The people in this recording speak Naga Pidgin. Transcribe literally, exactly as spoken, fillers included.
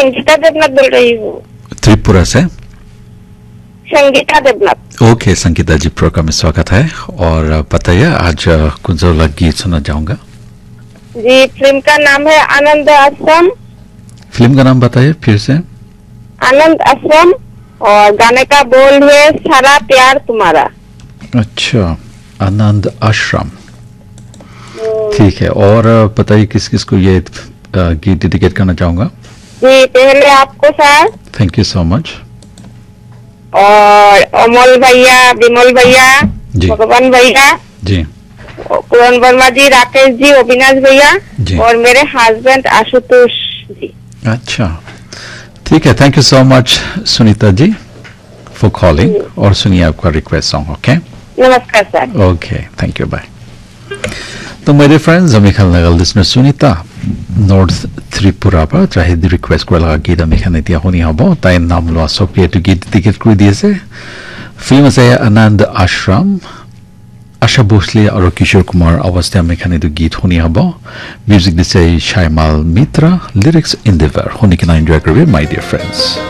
संगीता देवनाथ बोल रही हूँ। त्रिपुरा से। संगीता देवनाथ। ओके, संगीता जी, प्रोग्राम में स्वागत है। और अ, बताइए, आज अ, कौन सा वाला गीत सुनना चाहूँगा? जी, फिल्म का नाम है आनंद आश्रम। फिल्म का नाम बताइए फिर से। आनंद आश्रम। और गाने का बोल है सारा प्यार तुम्हारा। अच्छा, आनंद आश्रम। ठीक है, और अ, बताइए किस किस को ये अ, गीत डेडिकेट करना चाहूँगा? जी, पहले आपको sir, thank you so much. और अमल भैया, विमल भैया, जी। भगवान भैया, जी। पूरन वर्मा जी, राकेश जी, अविनाश भैया जी। और मेरे हस्बैंड आशुतोष जी। अच्छा, ठीक है, thank you so much Sunita ji for calling. और सुनिए आपका रिक्वेस्ट सॉन्ग। ओके, नमस्कार sir. Okay, thank you, bye. तो माय डियर फ्रेंड्स, हमें खान लगा लिसनर सुनीता नॉर्थ त्रिपुरा पर चाहे रिक्वेस्ट कर लगा गीत हमें खाने दिया होनी हबो। ताई नाम लो, सो पे तो गीत टिकट कर दिए से। फिल्म से आनंद आश्रम, आशा भोसले और किशोर कुमार अवस्था में खाने तो गीत होनी हबो। म्यूजिक दिसे शायमाल मित्रा, लिरिक्स इंदिवर। होनी के ना एंजॉय करबे माय डियर फ्रेंड्स।